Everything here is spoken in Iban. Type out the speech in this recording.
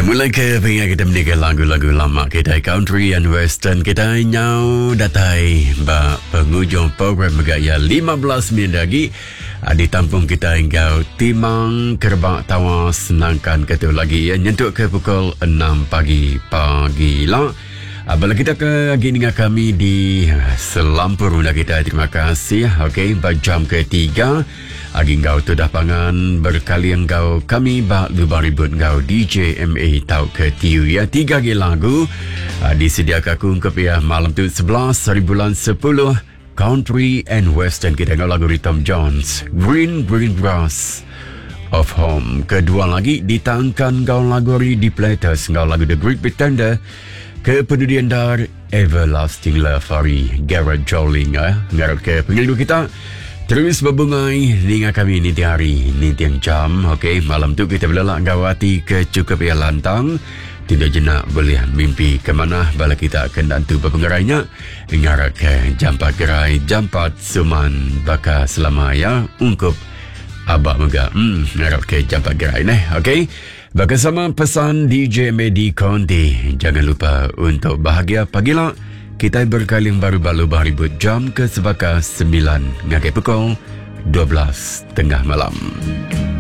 Mulai ke pengingat kita mendika lagu-lagu lama kita country and western kita nyau datai ba pengujung program mega ya 15 minit lagi ah, ditampung kita enggau timang kerebak tawas nangkan ke tu lagi ya nyentuk ke pukul 6 pagi pagi lah. Ah, bala kita ke agi ninga kami di selampur unda kita terima kasih okey ba jam ketiga Agi enggau tudah pangan berkali enggau kami ba Lubang Ribut enggau DJ MA tauka TU ya. Tiga agi lagu uh, disediaka aku ungkup ya malam tu 11 hari bulan 10 Country and Western kita enggau lagu Tom Jones Green Green Grass of Home. Kedua lagi ditangkan enggau lagu ari The Platters enggau lagu The Great Pretender ke penudi endar Everlasting Love ari Gerard Joling eh. Ngarap ke pengerindu kita terus berbungai ninga kami ninting hari, ninting jam. Okey, malam tu kita belelak enggau ati ke cukup ia lantang. Tidak jenak boleh mimpi ke mana bala kita ke nentu berpengerai nya. Ngarap ke jampat gerai, jampat suman baka selama ya ungkup abak mega. Ngarap ke jampat gerai neh. Okey. Baka sama pesan DJ Medi Conti, jangan lupa untuk bahagia pagila. Kita berkaling baru balu ribut jam ke sebaka 9 ngagai pukul 12 tengah malam.